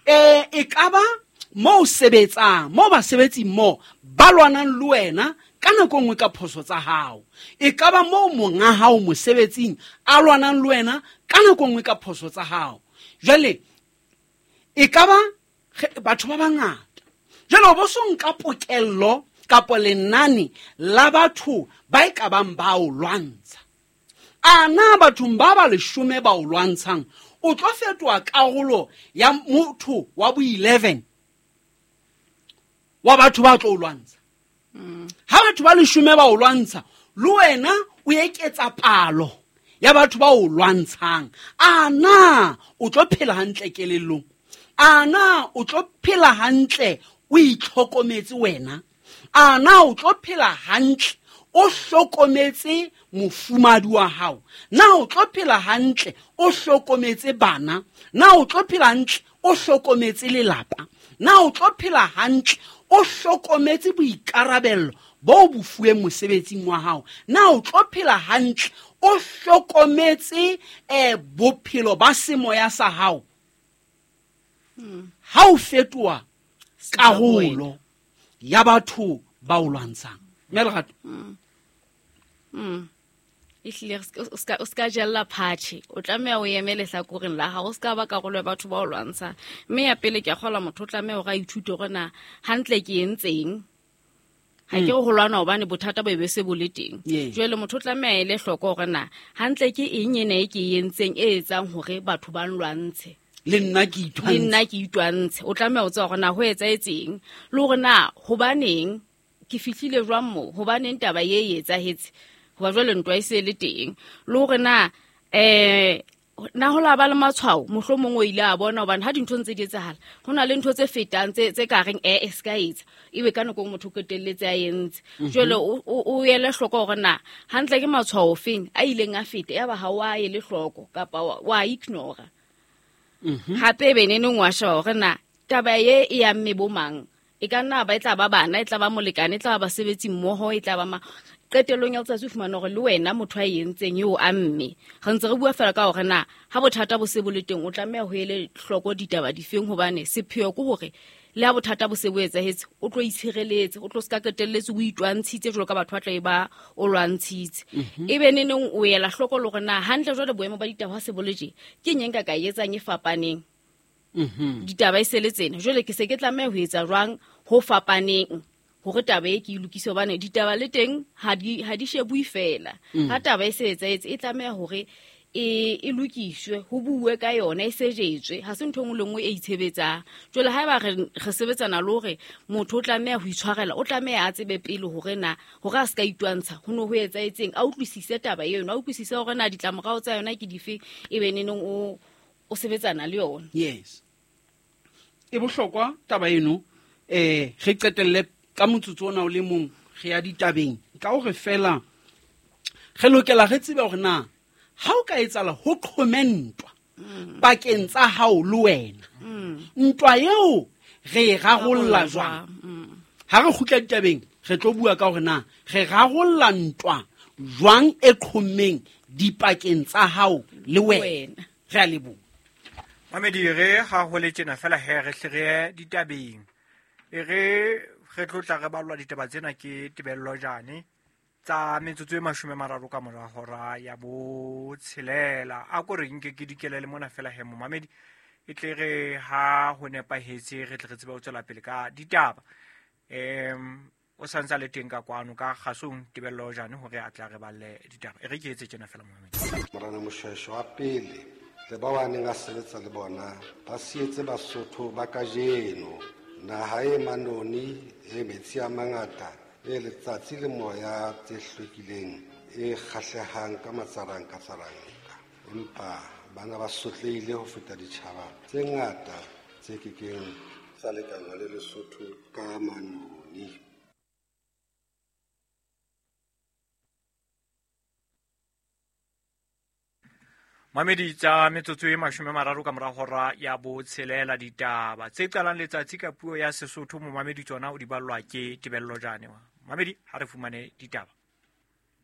E ka ba mo o sebetsang, mo basebetsing mo ba lwanang le wena ka nako nngwe ka phoso tsa hao. E ka ba mo monga hao mosebetsing a lwanang le wena ka nako nngwe ka phoso tsa hao. Jwale e ka ba batho ba bangata. Jwale o bo so nka pokello kapo lenane la batho ba e ka bang ba o lwantsha. A na bathong ba ba leshome ba o lwantshang o tlo fetoha karolo ya motho wa bo 11 wa batho ba tlo o lwantsha? Ha batho ba leshome ba o lwantsha, le wena o eketsa palo ya batho ba o lwantshang. A na o tlo phela hantle kelellong? A na o tlo phela hantle o itlhokometse wena? A na o tlo phela hantle o hlokometse mofumadi wa hao? Na o tlo phela hantle o hlokometse bana? Na o tlo phela hantle o hlokometse lelapa? Na o tlo phela hantle o hlokometse boikarabello bo bo fuweng mosebetsing wa hao? Na o tlo phela hantle o hlokometse bophelo ba semoya sa hao? Ha o fetoha karolo ya batho ba o lwantshang. Mme Lerato? Ehlile, o ska jella phatjhe. O tlameha o eme lehlakoreng la hao, o ska ba karolo ya batho ba o lwantshang. Mme ya pele ke a kgolwa motho o tlameha hore a ithute hore na hantle ke entseng. Ha ke re ho lwana hobane bothata bo be se bo le teng. Jwale motho o tlameha a ele hloko hore na hantle ke eng ena e ke e entseng e etsang hore batho ba nlwantshe. Le nna ke itwantshe. Le nna ke itwantshe. O tlameha ho tseba hore na ho etsahetseng le hore na hobaneng ke fihlile jwang moo, hobaneng taba e e etsahetse, hoba jwale ntwa e se le teng, le hore na na ho la ba le matshwao mohlomong o ile a bona, hobane ha dintho ntse di etsahala ho na le ntho tse fetang tse ka reng e se ka etsa, ebe ka nako motho o qetelletse a entse. Jwale o ele hloko hore na hantle ke matshwao ofeng a ileng a feta, yaba ha o a ele hloko kapa wa ignore. Hape ebe neneng wa sheba hore na taba e e amme bo mang, e ka nna ba e tla ba bana, e tla ba molekane, e tla ba basebetsi mmoho, e tla ba ma. Qetellong ya letsatsi o fumana hore le wena motho a e entseng eo a mme. Re ntse re bua fela ka hore na ha bothata bo se bo le teng o tlameha ho ele hloko ditaba difeng, hobane sepheo ke hore le ha bothata bo se bo etsahetse o tlo itshireletse, o tlo se ka qetelletse o itwantshitse jwalo ka batho ba tla e ba o lwantshitse. Ebe neneng o ela hloko le hore na hantle jwale boemo ba ditaba ha se bo le tje, ke eng e nka ka e etsang e fapaneng? Ditaba e se le tsena, jwale ke se ke tlameha ho etsa jwang ho fapaneng hore taba e ke e lokise, hobane ditaba le teng ha di shebue fela. Ha taba e se etsahetse e tlameha hore e lokiswe, ho buwe ka yona, e sejetswe. Ha se ntho e nngwe le nngwe e itshebetsang. Jwale haeba re sebetsana le hore motho o tlameha ho itshwarela, o tlameha a tsebe pele hore na hore a se ka itwantsha ho no ho etsahetseng, a utlwisise taba eno, a utlwisise hore na ditlamorao tsa yona ke dife, e be neneng o sebetsana le yona. Yes. E bohlokwa taba eno. Re qetelle ka motsotso ona o le mong re ya ditabeng, ka hore fela re lokela re tsebe hore na ha o ka etsahala ho qhome ntwa pakeng tsa hao le wena, ntwa eo re e rarolla jwang? Ha re kgutla ditabeng re tlo bua ka hore na re rarolla ntwa jwang e qhommeng dipakeng tsa hao le wena. Re a leboha. Mamedi, re ha ho le tjena fela he re hle re ye ditabeng. E re tlo tla re ballwa ditaba tsena ke Tebello Jane tsa metsotso e 30 ka mora hora ya botshelela. A ko re nke ke dikelele mona fela he momamedi, e tle re ha ho nepahetse re tle re tsebe ho tswela pele ka ditaba. O sa ntse a le teng ka kwano ka kgasong Tebello Jane hore a tla re balle ditaba. E re ke etse tjena fela momamedi. Morena Moshoeshoe wa pele le ba ba neng a sebetsa le bona ba sietse Basotho ba kajeno naha e manoni, e metsi a mangata, e letsatsi le moya tse hlwekileng, e kgahlehang ka matsaranka tsaranka. Empa bana ba sotlehile ho feta ditjhaba tse ngata tse kekeng tsa lekana le Lesotho ka manoni. Mamedi tsa metsotso e 30 ka mora hora ya botshelela, ditaba tse qalang letsatsi ka puo ya Sesotho momamedi tsona o di ballwa ke Tebello Jane. Mamedi, ha re fumane ditaba.